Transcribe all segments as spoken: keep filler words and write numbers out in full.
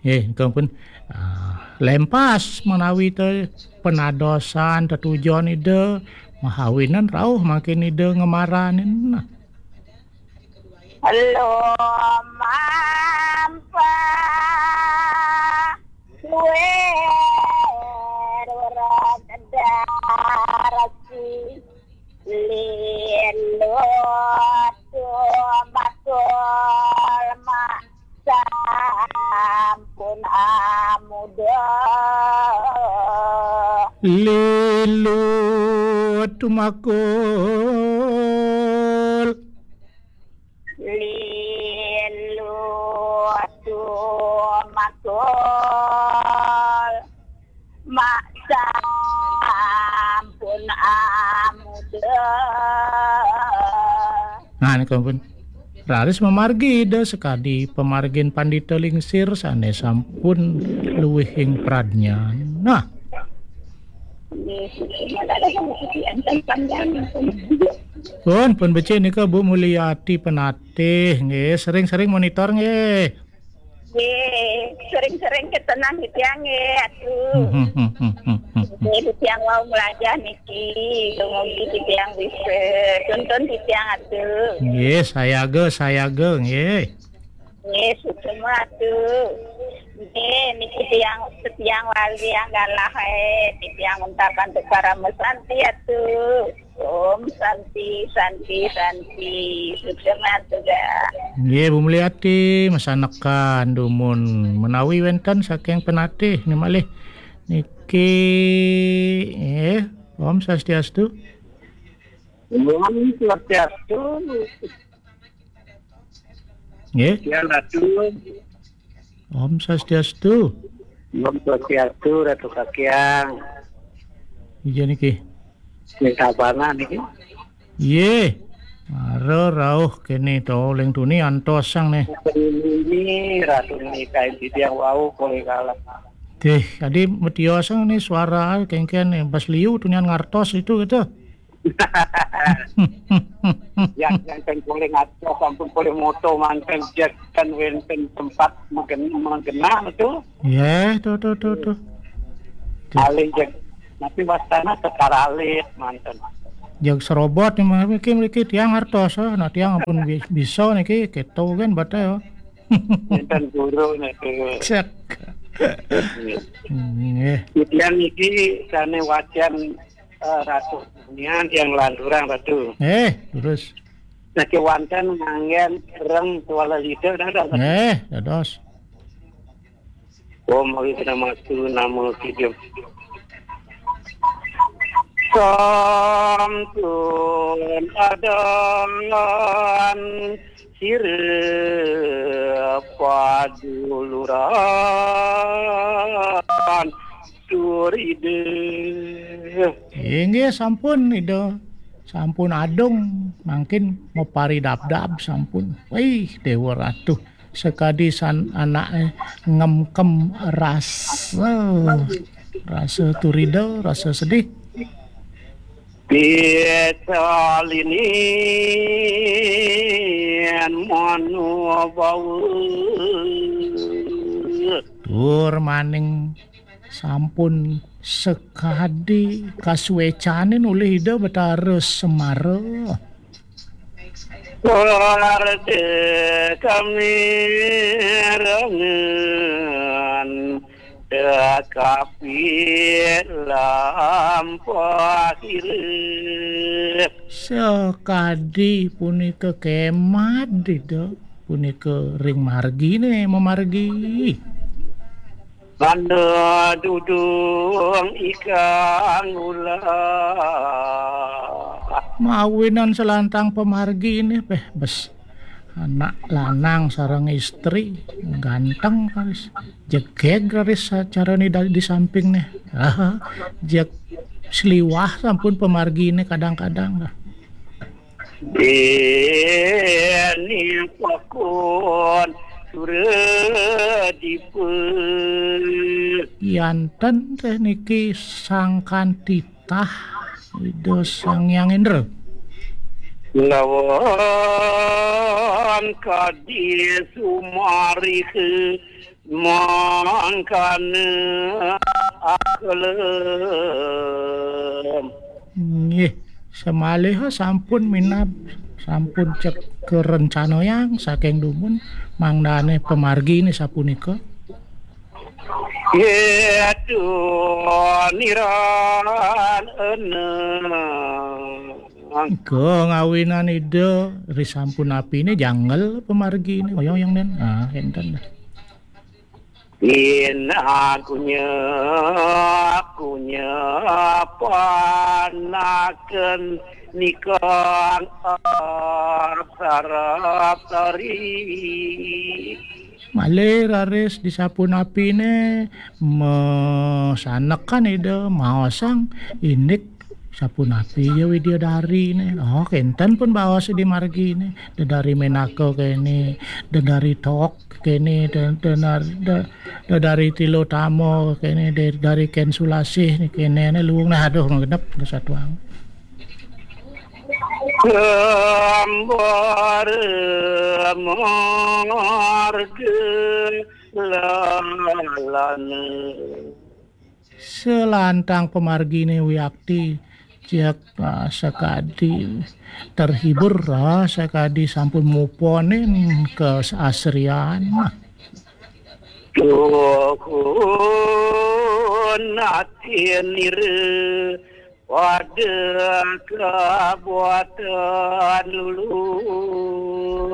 Eh, kampun. Ah, lempas manawi te penadosan tetujon Ida mahawinan rauh mangkin Ida ngemaranin. Nah. Lomampa kuwer darasi lilut tumbakul mak sampun amuda. Lilut tumakul. Lilut tumakul. Mak sampun amuda. Nah, nika pun. Raris mamargi Ida sakadi pamargin pandita lingsir sane sampun luwihing pradnyan. Nah. Nggih, nggih. Pun, pun becik nika Bu Mulyati Penatih, nggih, sering-sering monitor nggih. Nggih, sering-sering ketenang titiang nggih, Atu. Hmm, hmm, hmm, hmm, hmm, hmm. Nggih, titiang wau melajah niki, dumugi titiang bisa tuntun titiang, Atu. Nggih, sayaga, sayaga, nggih. Nggih, suksma, Atu. Nggih, niki tiang, titiang wali yang galah, eh. Titiang untakan tukar sama Santi, Atu. Om Santi, Santi, Santi. Suksma, Atu, ga. Nggih, Bu Mulyati, masanekan dumun menawi wenten saking Penatih, ni malih. Niki, eh, Om Swastiastu. Om Swastiastu. Nggih. Ya, Ratu. Om Swastiastu. Om Swastiastu, Ratu Kakiang. Iya niki. Minta bana niki. Iya. Mara rauh kene to ling tuni antos sang nih. Ini Ratu niki kain titiang wau kole kalah. Deh, tadi metiosang nih suara kengken nih. Bas liu tunian ngartos itu gitu. Yang, yang kan boleh ngaco, sampun boleh moto, mangkang jagan wenten tempat megen-, menggenang itu. Ya, tuh, tuh, tuh, tuh. Tuh. Alih jag-, tapi wastana sekar alih, manten. Jag serobot nih, mriki, mriki tiang ngartos, eh. Nah, tiang ampun bi-, bisa niki, keto kan batal, ya. Wenten guru niku. Cek. Nggih. Titiang niki sane wacan, eh, Ratu Nian yang lanturang, Ratu. Eh, terus. Niki wanten nganggen reng tuala lida, dah, dah. Eh, dados. Om Awi Namastu Namo Kijam. Sampun adangan sira paduluran turide. Inggih sampun, Ida. Sampun adung, mangkin maparidabdab sampun. Wih, Dewa Ratu. Sakadi san-, anake ngemkem rasa, rasa turida, rasa sedih. Pisalinin manubawa. Tur maning sampun sakadi kasuecanin olih Ida Betara Semara. Warta kami rangan tekapi lampah ira. Sakadi punika kemad Ida, punika ring margine mamargi. Tanda dudung ikang ulah. Mawinan selantang pamargine, peh, bes. Anak lanang sareng istri, ganteng, raris. Jegeg, raris, carane da-, di sampingne. Ah, jeg sliwah sampun pamargine kadang-kadang, lah. Dene pakon suradipa. Yanten teh niki sangkan titah Ida Sang Hyang Indra. Lawan kadi sumariha Mangkana akelem. Nggih, samaliha sampun minab, sampun cek karencanayang saking dumun, mangdane pamargine sapunika. Yaitu niran eneng. Nika ngawinan Ida ri sampun apine jangel pamargine, oyong-oyong den. Ah, enten dah. Inakunya, kunya panaken nikang sarap tari. Malih raris di sapunapine masanekan Ida maosang indik sapunapi ya widya darine. Oh, kenten pun baos di margine. Dedari menaka kene, dedari tok kene, de-, denar-, de-, dedari tilotama kene, de-, dari ken sulasih ni kene, ne luung nah, aduh, genep, satuang. Gambar marga lalana. Selantang pamargine wiakti, cek, ah, sakadi terhibur, ah, sakadi sampun muponin keasrian. Tuhun atinira pada kabuatan lulu.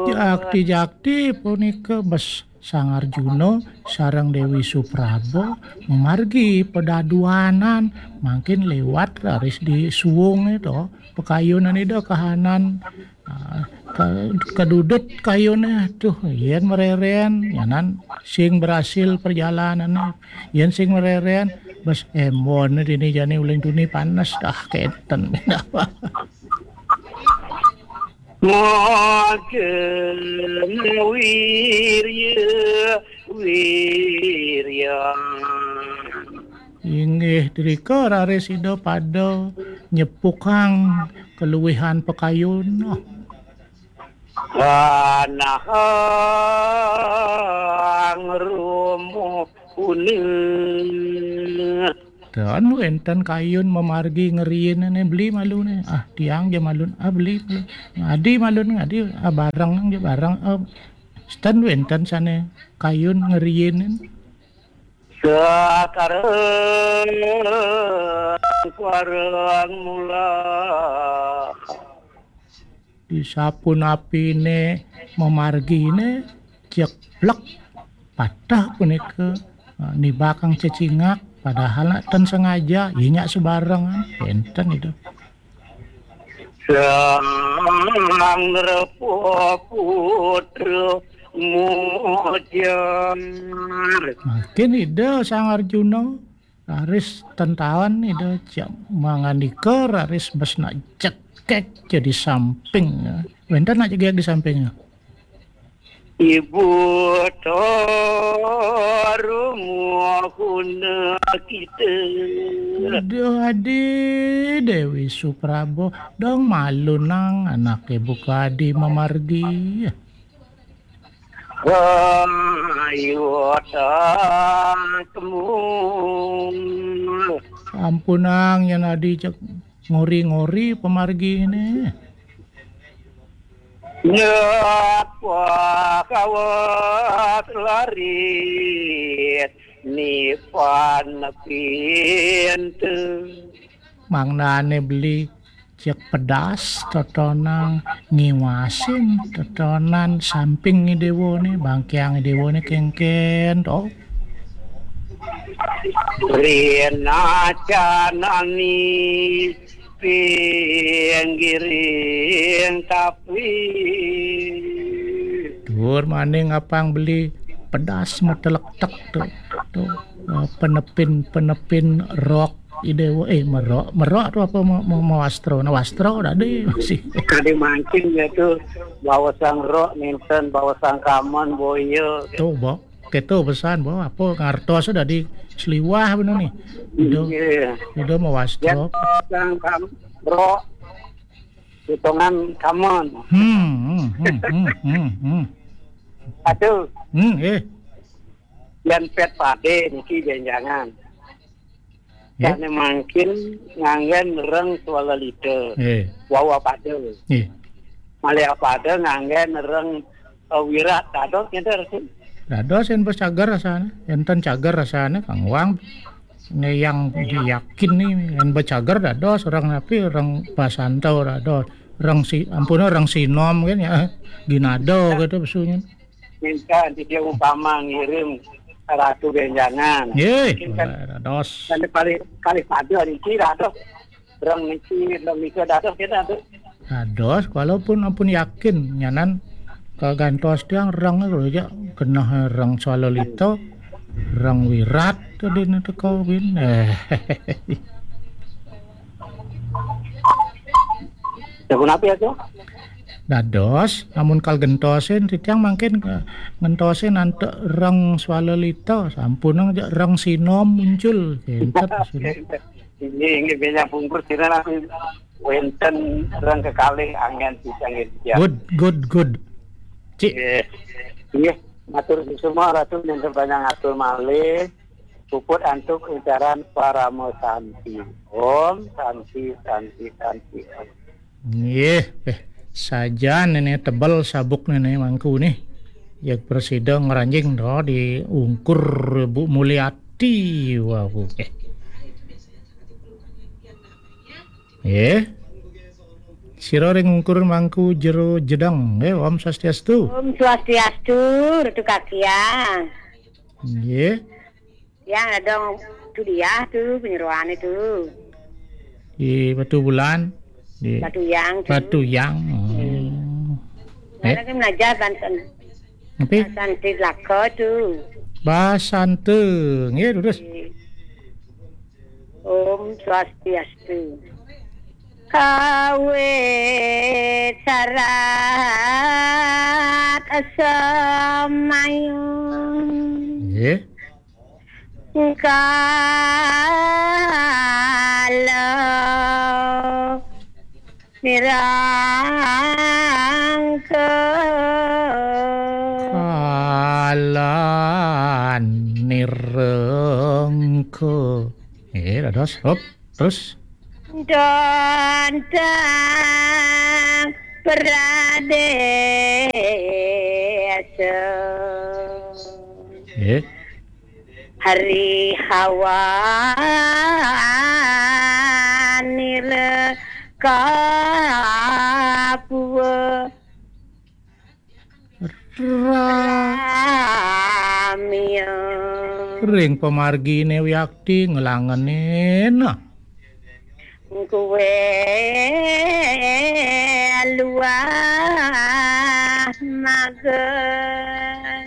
Jakti-jakti punika bes Sang Arjuna sareng Dewi Supraba mamargi pedaduanan mangkin liwat raris di suwunge to, pakayunan Ida kahanan, ah, ka-, kadudut kayune tuh, yen mareren, nyanan sing berhasil perjalanane, yen sing mareren, bes embon dini jani uling tuni panes, dah kenten. Magen wirya, wirya. Inggih, drika raris Ida pada nyepukang kaluwihan pakayun. Panahang rumuhuna. Ten wenten kayun mamargi ngriin ne beli malune. Ah, tiang ja malun. Ah, beli, beli. Ngadi malun, ngadi. Ah, bareng ja bareng. Ah, ten wenten sane kayun ngriin. Sakareng pareng mula. Di sapunapine mamargine jeblek patah punika, eh, nibakang cecingak, padahal nak ten sengaja, iya nyak sebarengan, enten itu. Sang Repo Putra Mujar. Makin Ida Sang Arjuna raris tentaon Ida cek mangandika raris bes nak jegeg jadi samping. Wenten nak jegeg di samping. Ibu Toru muhuna kita. Aduh, adi Dewi Suprabo, dong malu nang anak ibu kadi mamargi. Ayo tak temu. Ampunang yen adi cek ngori-ngori pamargine. Nyapa kawas laris nipan pintu. Mangdane beli cek pedas totonang ngiwasin totonan samping dewane, bangkiang dewane kengken to. Rina canani pinggiring tapi. Dur maning apang beli pedas metelektek tu. Tu, eh, penepin-penepin rok idewa, eh, merok, merok tu apa ma-, ma-, mawastro, nah, wastro tadi masih. Tadi mancing ya tu, bawa sang rok, nenten, bawa sang kaman, boya. Tu, bo. Keto pesan, bo. Apa ngartos sudah di seliwah bener nih. Udah, iya. Udah mawastro. Ya, sang kam-, rok. Potongan kaman. Hmm, hmm, hmm, hmm, hmm, hmm. Aduh. Hmm, eh. Yén pét padé niki bénjangan. Nggih. Sané mangkin nganggén reng swalélita. Nggih. Wau apada. Nggih. Malih apada nganggén reng, eh, wirat. Dados ngénten, Rasul? Dados yén bes cager rasané, yén ten cager rasané, Kang Wang. Né yang yakin né, yén bes cager dados, reng napi, reng basanta dados. Reng si, ampun, reng sinom kan ya. Ginado gitu pesunya. Minta nanti dia umpama ngirim Ratu Benjangan. Nggih, mungkin kan dados. Dan kali, kali pada niki dados. Reng niki, reng niki dados kita tuh. Dados, walaupun ampun yakin, nyanan kagantos tiang reng lho ya, genah reng swalélita, reng wirat tadi nanti kawin. Eh. Ya, kenapa ya, tuh? Dados, amun kal gentosin, titiang mangkin, eh, ngentosin antuk reng swalélita, sampun aja reng sinom muncul. Kénten maksudnya. Ini, ini banyak bungkus, kira nanti wénten reng kekalih anggén bisa nggih, ya. Good, good, good. Cik. Nggih. Nggih, matur suksma Ratu, nenten banyak ngatur malih. Puput antuk ucaran Parama Santi. Om Santi, Santi, Santi, Om. Nggih, eh, sajan ini tebel sabuk ini mangku nih. Ya presida ngranjing do di ungkur Bu Mulyati. Wah, eh. Nggih. Sira ring ungkur mangku jero jedang. Nggih, Om Swastiastu. Om Swastiastu, Ratu Kakiang. Nggih. Yang ada dong tu dia tu, penyeruan itu. Di Batu Bulan, di Batu Yang tu. Batu Yang. Hmm. Eh? Lagi belajar banten. Tapi Santi lako tu. Basante. Nggih, terus. Om Swastiastu. Kawit sarat semayung. Nggih. Kala nirangka. Kala nirangka. Nggih, dados. Hop, terus. Dontang pradesa. Nggih. Hari hawa nila kapua. Ra- Ramya. Ring pamargine wiakti nglangenena. Kuwe luah maga.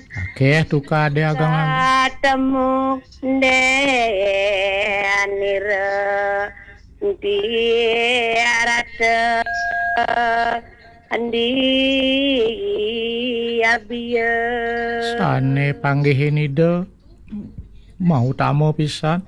Akeh tukade agangan. Katemu denira tiarata andi abia. Sane panggihin Ida mau tama pisan.